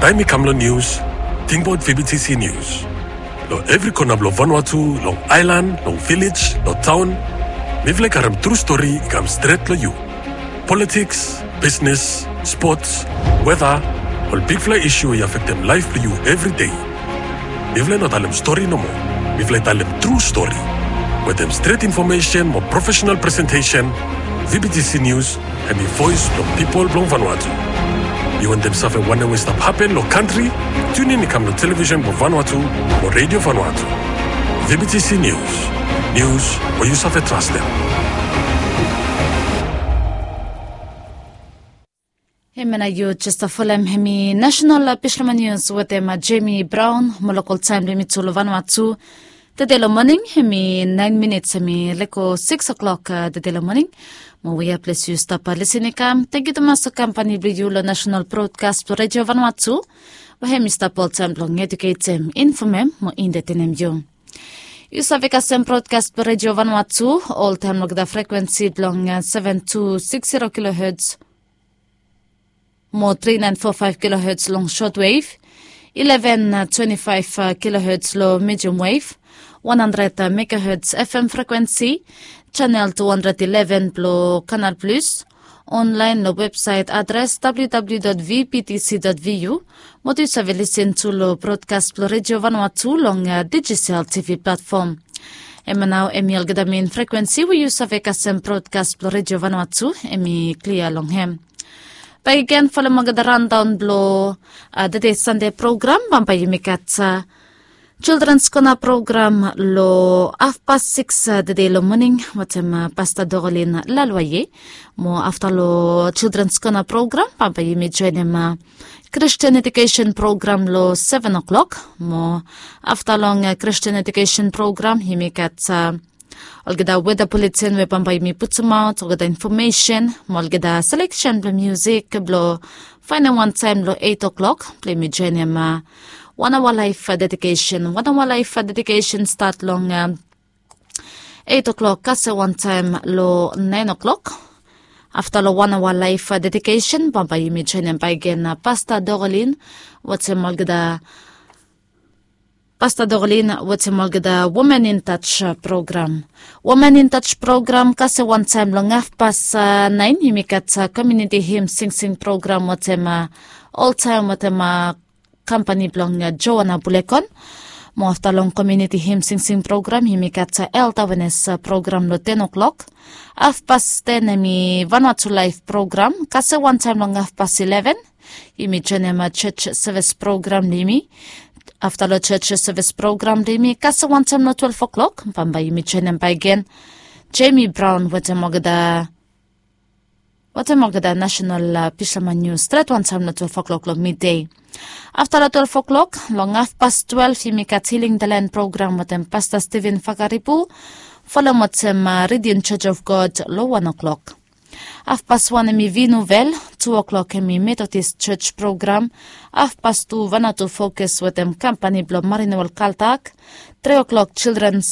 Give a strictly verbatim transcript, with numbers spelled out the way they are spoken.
Taem i kam long nius, tingbaot V B T C Nius. Long evri kona blong Vanuatu, long aelan, long vilej, long taon, mifala i karem tru stori i kam stret long yu. Politiks, bisnes, spots, weta, ol bigfala isu we i afektem laef blong yu evri dei. Mifala i no talem stori nomo. Mifala i talem tru stori. Wetem stret infomesen mo profesenal presentesen, V B T C Nius hem i voes blong pipol blong Vanuatu. Yu wantem save wanem we i stap hapen long kantri? Tiunin i kam long televisen blong Vanuatu mo Redio Vanuatu. V B T C Nius. Nius we yu save trastem. Hemia nao yu jes folem hem i nasenal, a, Bislama Nius wetem, a, Jemi Braon mo lokal taem blong yumi tu long Vanuatu. Tede long moning hem i naen minits hem i lego sikis oklok, a, tede long moning. Mo wea ples yu stap, a, lisin i kam, tangkiu tumas long kampani blong yu long nasenal brodkas blong Redio Vanuatu, we hem i stap oltaem blong ejuketem, infomem mo entetenem yu. Yu save kasem brodkas blong Redio Vanuatu oltaem long olgeta frekwensi blong, a, seven two six zero kilohertz mo three nine four five kilohertz long shortwave, eleven twenty-five kilohertz long medium wave, one hundred megahertz F M frekwensi, channel two hundred eleven blong Canal Plus, online long websaet adres W W W dot V B T C dot V U, mo yu save lisin tu long brodkas blong Redio Vanuatu long, a, dijital T V platfom. Hemia nao hem i olgeta mein frekwensi we yu save kasem brodkas blong Redio Vanuatu hem i klia long hem. Bakegen folem olgeta raondaon blong, a, tede Sande program, bambae yumi gat, a, Childrens Kona program long hafpas sikis, a, tede long moning wetem, a, Pasta Dorolin Lalwaye. Mo afta long Childrens Kona program bambae yumi joenem, a, Kristin Edukesen program long seven oklok. Mo afta long, a, Kristin Edukesen program yumi gat, a, olgeta weta buletin we bambae yumi putumaot, olgeta infomesen mo olgeta seleksen blong musik blong faenem wantaem long eit oklok blong yumi joenem, a, wan aoa laef dedikesen. Wan aoa laef dedikesen stat long, a, eit oklok kasem wantaem long naen oklok. Afta long wan aoa laef dedikesen bambae yumi joenem bakegen, a, Pasta Dorolin wetem olgeta Pasta Dorolin wetem olgeta Women in Touch, a, program. Women in Touch program kasem wantaem long hafpas, a, naen yumi gat, a, komuniti him singsing program wetem, a, oltaem wetem, a, kampani blong, a, Joana Bulekon. Mo afta long komuniti him singsing program yumi gat, a, Health Awareness, a, program long ten oklok. Hafpas ten hem i Vanuatu Laef program kasem wantaem long hafpas eleven. Yumi joenem, a, church service program blong yumi. Afta long church service program blong yumi kasem wantaem long twelve oklok bambae yumi joenem bakegen Jemi Braon wetem olgeta, wetem olgeta nasenal, a, Bislama Nius stret wantaem long twelve oklok long midei. Afta long twelve oklok, long hafpas twelve yumi gat Healing the Land program wetem Pasta Steven Fakaribu, folem wetem, a, Redeemed Church of God long wan oklok. Hafpas wan hem i Vinu Vel, tu oklok hem i Methodist Church program, hafpas tu Vanuatu Focus wetem kampani blong Marinewel Kaltak, tri oklok Children's